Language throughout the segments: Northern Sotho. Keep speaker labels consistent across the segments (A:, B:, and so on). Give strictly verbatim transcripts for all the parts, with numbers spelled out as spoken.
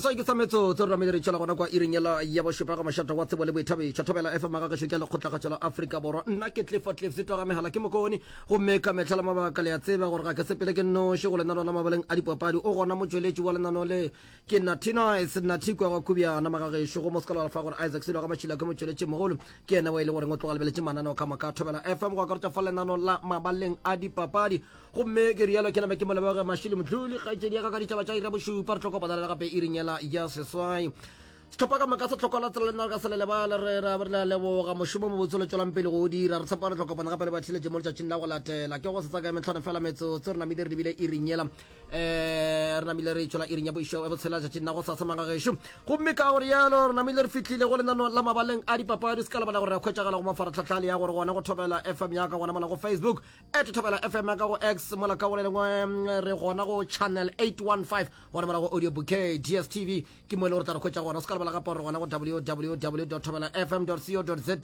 A: Seswai ke sa metsotso re namile re tšwela gona kwa iring yela ya bošupa ga mošate wa tsebo le boithabišo. Thobela F M gagešo ke lekgotlakgatšo la Afrika Borwa. Nna ke Clifford Cliff Setwa ga megala ke mokone gomme ka mehla le mabaka le a tseba gore ga ke sepele ke nnoši go lenaneo la mabaleng a dipapadi. O gona motšweletši wa lenaneo le ke Nathi Nice Nathi kwa ga Kubjana magagešo go Moskala fa gore Isaac Selo ga Mašila ke motšweletši mogolo ke yena wa e le goreng o tloga lebeletše mananeo ka moka Thobela F M go akaretša fa lenaneo la mabaleng a dipapadi. Gomme ke rialo ke name ke mo leboge Mashilo Mdluli kgaetšedi ya ka ka ditaba tša iri ya bošupa re tlo kopana le gape iring yela ya seswai. Sehlopha ka moka se hlokola tsela le nna re ka se le lebale re ra re a leboga mošomo mobotse le tšwelang pele go o dira re tshepa re tlo kopana gape le batheeletši mo letšatšing la go latela ke go se tsaka metlhano fela metsotso re namile re lebile iring yela eh re namile re tšwela iring ya bošo ya botshela letšatšing la go sasa magagešo gomme ka gore yalo re namile re fihlile go lenano la mabaleng a dipapadi se ka lebala gore re hwetšagala go mafaratlhatlha le ya gore gona go Thobela F M ya ka gona mola go Facebook at Thobela F M ya ka go X mola ka go le lengwe re gona go channel eight one five gona mola go audio bouquet D S T V ke mo e le gore tla re hwetša gona se ka lebala gape gore gona go w w w dot thobela f m dot co dot za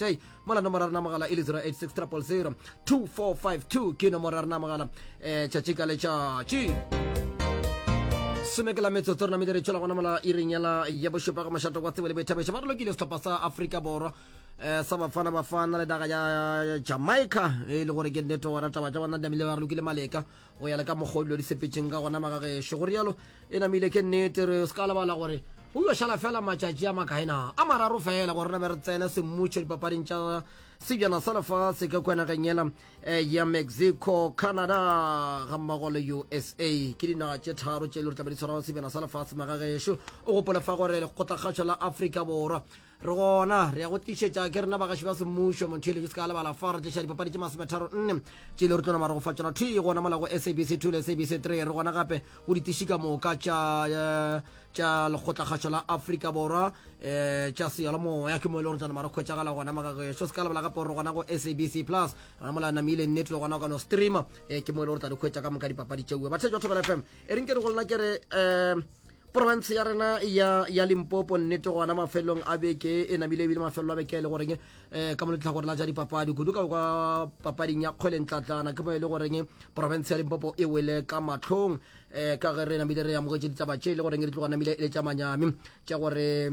A: mola nomoro ya rena mogala e le zero eight six triple zero two four five two ke nomoro ya rena mogala um tšatši ka letšatši some ke la metsotso re namile re tšwela gona mola iring yela ya bošupa ga mošato wa tsebo le boithabišo ba re lokile sehlopha sa Afrika Borwa eh sa Bafana Bafana le naga ya Jamaica e le gore ke nnete gona taba tša bona di namile ba re lokile maleka go ya le ka mokgwa o dilo di sepetšeng ka gona magagešo go rialo e namile ke nnete re se ka lebala gore go yo šala fela matšatši a makae na a mararo fela gore re be re tsene semmušo dipapading tša sebjana sa lefase ka kua nageng yela eh, ya Mexico, Canada ga mmogo le U S A ke dinaga tše tharo tše e le gore tlabe di tshwara sebjana sa lefase magagešo o gopole fa gore lekgotlakgašo la Afrika Borwa re gona re ya go tlišetša ke rena bagaši ba semmušo motheeletši se ka lebala fa re tliša dipapadi tše masometharo nne tše le re tlo nama re go fa tšona thwi gona mola go S A B C two le S A B C three re gona gape go ditiši ka moka tša eh, tša lekgotlakgašo la Afrika Borwa eh, tša seyalemoya ke mo e le gore tla nama re hwetšagala gona magagešo se ka lebala gape gore gona go S A B C plus gona mola namile nnete le gona o ka no streama eh, ke mo e le gore tla di hwetša ka moka dipapadi tšeue batheetši ba Thobela F M e reng ke re go lena ke re um province ya rena ya ya Limpopo nnete gona mafelong a beke e namile ebile mafelelo a beke e le goreng eh ka mo letlhakore la tša dipapadi kudu ka kwa papading ya kgwele ntlatlana ke mo e le goreng province ya Limpopo e wele ka mahlong eh ka ge re namile re amogetše ditaba tše e le goreng di tloga namile e le tša manyami tša gore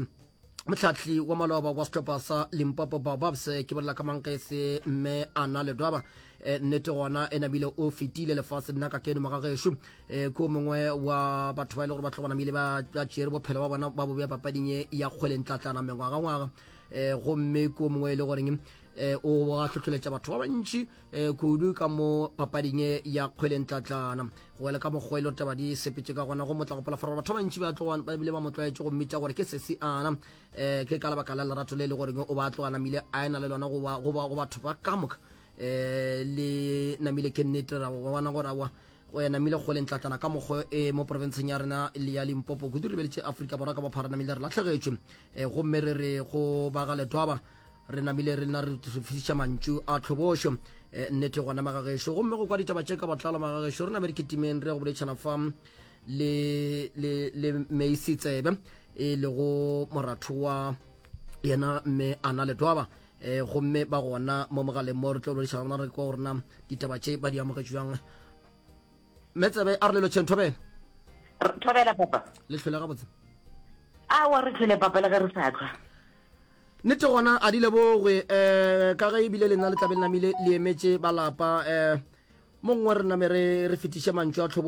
A: mohlahli wa maloba wa sehlopha sa Limpopo Baobabs ke bolela ka mankese mme Anna Ledwaba eh, nnete gona e namile o fetile lefase nna ka keno mogagešo eh, ko mongwe wa batho ba e le gore ba tlo namile ba ba tšere bophelo ba bona ba bo bea papading ye ya kgwele ntlatlana mengwagangwaga eh, gomme ko mongwe e le goreng eh, o ga hlohleletša batho ba bantši eh, kudu ka mo papading ye ya kgwele ntlatlana go wela ka mokgwa e le gore taba di sepetše ka gona go motla gopola fara batho ba bantši ba tloga ba bile ba mo tlwaetše go mmitša gore ke sesi ana eh, ke ka lebaka la lerato le le goreng o ba tloga namile a ena le lona go ba- go ba- go batho ba ka moka eh, le namile ke nnete ra go bona gore aowa go ya namile kgwele ntlatlana ka mokgwa e mo profenseng ya rena le ya Limpopo kudu re lebeletše Afrika Borwa ka bophara namile re lahlegetšwe eh, gomme re re go ba ga Letwaba re namile re nna re fetiša mantšu a tlhobošo eh, nnete gona magagešo gomme go kwa ditaba tše ka botlalo magagešo re name re kitimeng re go boletšana fa le le le Meisi Tsebe e lego moratho wa yena mme Anna Letwaba eh, gomme ba gona mo mogaleng mo re tlo boledišana gona re kwa gore na ditaba tše ba di amogetše bjang mme Tsebe a re le lotšheng thobela
B: Thobela papa
A: le hlwele gabotse
B: awa re hlwele papa le ge re sa hlwa
A: nnete gona a di lebogwe um ka ge ebile le nna le tlabe le namile le emetše ba lapa um mo nngwe re name re re fetiše mantšu a tlhobo